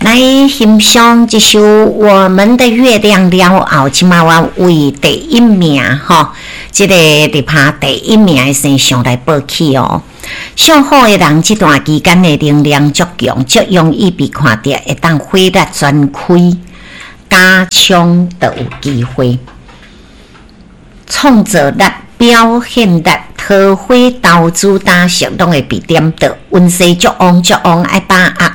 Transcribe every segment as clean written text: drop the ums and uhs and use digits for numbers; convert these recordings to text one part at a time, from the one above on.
來欣賞這首《我們的月亮》了後，這馬我為第一名吼，這個入拍第一名的星象來報起哦。屬虎的人這段期間的能量足強，足容易被看著會當火力全開，加衝就有機會。創造力、表現力、桃花投資打熟攏會被點到，運勢足旺足旺，愛把握。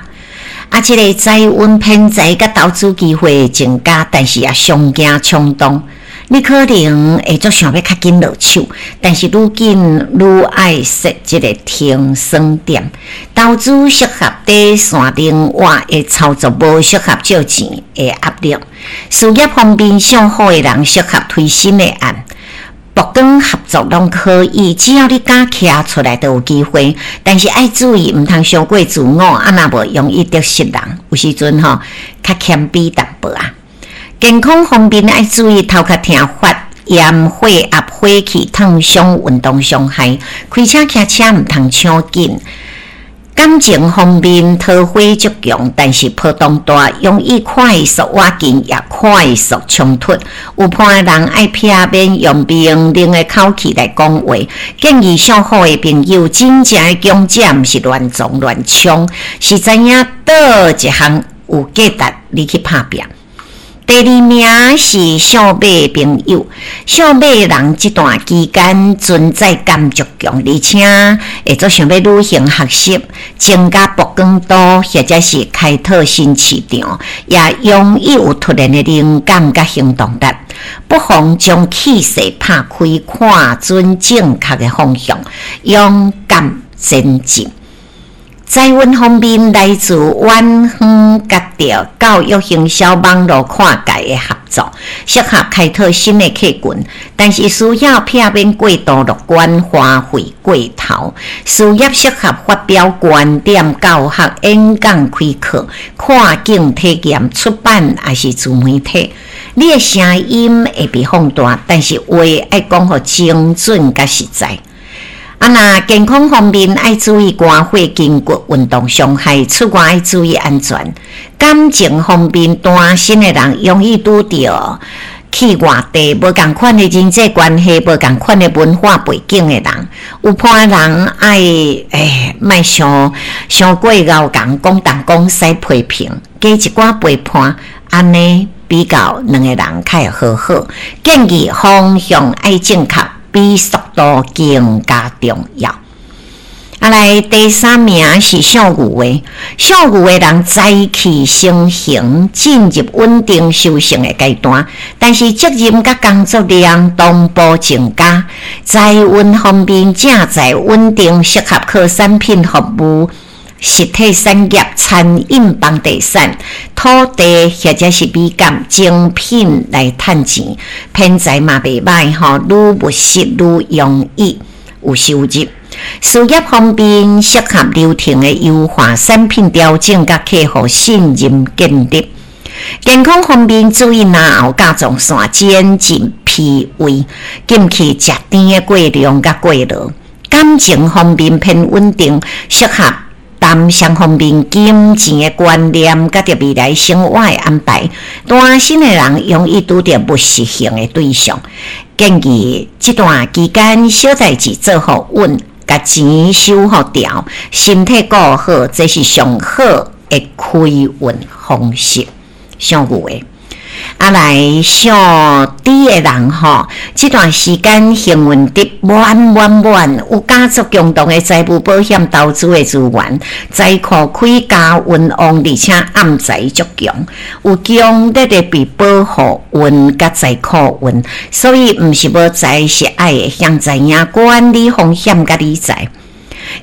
啊，這个財運偏財佮投資機會會增加，但是也傷驚衝動。你可能會足想欲較緊落手，但是愈緊愈愛設這个停損點。投資適合短線靈活的操作，無適合借錢的壓力。事業方面，屬虎的人適合推新的案。曝光合作攏可以，只要你敢徛出來，就有機會。但是愛注意，毋通傷過自我，啊若無容易得失人。有時陣吼，較謙卑淡薄仔。健康方面愛注意頭殼疼、發炎、血壓、火氣、燙傷、運動傷害。開車騎車毋通搶緊。感情方面，桃花足強，但是波動大，容易快速倚近，也快速衝突。有伴的人愛避免用命令的口氣來講話。建議屬虎的朋友，真正的強者毋是亂撞亂衝，是知影佗一項有價值，你去拍拚。第二名是屬馬的朋友，屬馬的人這段期間存在感足強，而且會足想欲旅行學習，增加曝光度，或者是開拓新市場，也容易有突然的靈感佮行動力。不妨將氣勢拍開，看準正確的方向，勇敢前進。財運方面來自遠方，佮著教育、行銷、網路跨界的合作，適合開拓新的客群，但是需要避免過度樂觀、花費過頭。事業適合發表觀點、教學、演講、開課、跨境體驗、出版，抑是自媒體。你的聲音會被放大，但是話愛講予精準佮實在。啊，若健康方面愛注意肝火、筋骨運動傷害，出外愛注意安全。感情方面，單身的人容易拄著去外地，無仝款的人際關係，無仝款的文化背景的人，有伴的人愛欸，莫傷傷過𠢕仝，講東講西批評，加一寡陪伴，按呢比較兩個人較會和好。建議方向愛正確，比速度更加重要。啊，來第三名是屬牛的，屬牛的人財氣成型，進入穩定修成的階段，但是責任佮工作量同步增加。財運方面正在穩定，適合靠產品服務、實體產業、餐飲、房地產、土地或者是美感精品來趁錢，偏財嘛袂䆀吼，愈務實愈容易有收入。事業方面適合流程的優化、產品調整佮客戶信任建立。健康方面注意嚨喉甲狀腺、肩頸、脾胃，禁去食甜的過量佮過勞。感情方面偏穩定，適合談雙方面金錢的觀念，佮著未來生活的安排。單身的人容易拄著物色型的對象，建議這段期間小代誌做予穩，共錢收予牢，身體顧好，這是上好的開運方式。屬牛的。啊，來屬豬的人吼，這段時間幸運值滿滿滿，有家族共同的財務保險投資的資源，財庫開加運旺，而且暗財足強，有強烈的被保護運佮財庫運，所以毋是無財，是愛會曉知影管理風險佮理財。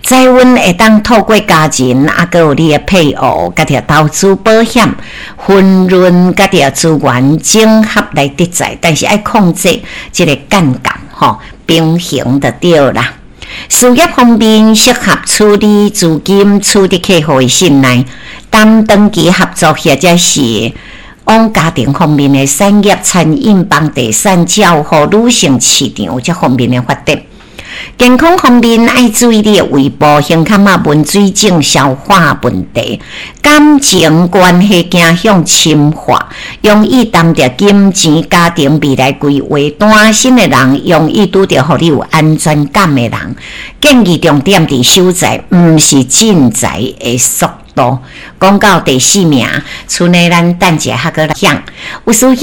財運會當透過家人，啊，閣有你的配偶，佮著投資保險、分潤，佮著資源整合來得財，但是愛控制這个槓桿吼，平衡就對啦。事業方面適合處理資金、取得客戶的信賴，談長期合作或者是往家庭方面的產業、餐飲、房地產、照護、女性市場這方面的發展。健康方面愛注意你的胃部、胸坎仔文水腫、消化問題。感情關係走向深化，容易談著金錢、家庭未來規劃。單身的人容易拄著予你有安全感的人。建議重點佇守財，毋是進財的速度。講到第四名，賰呢咱等一下閣來講。有思想。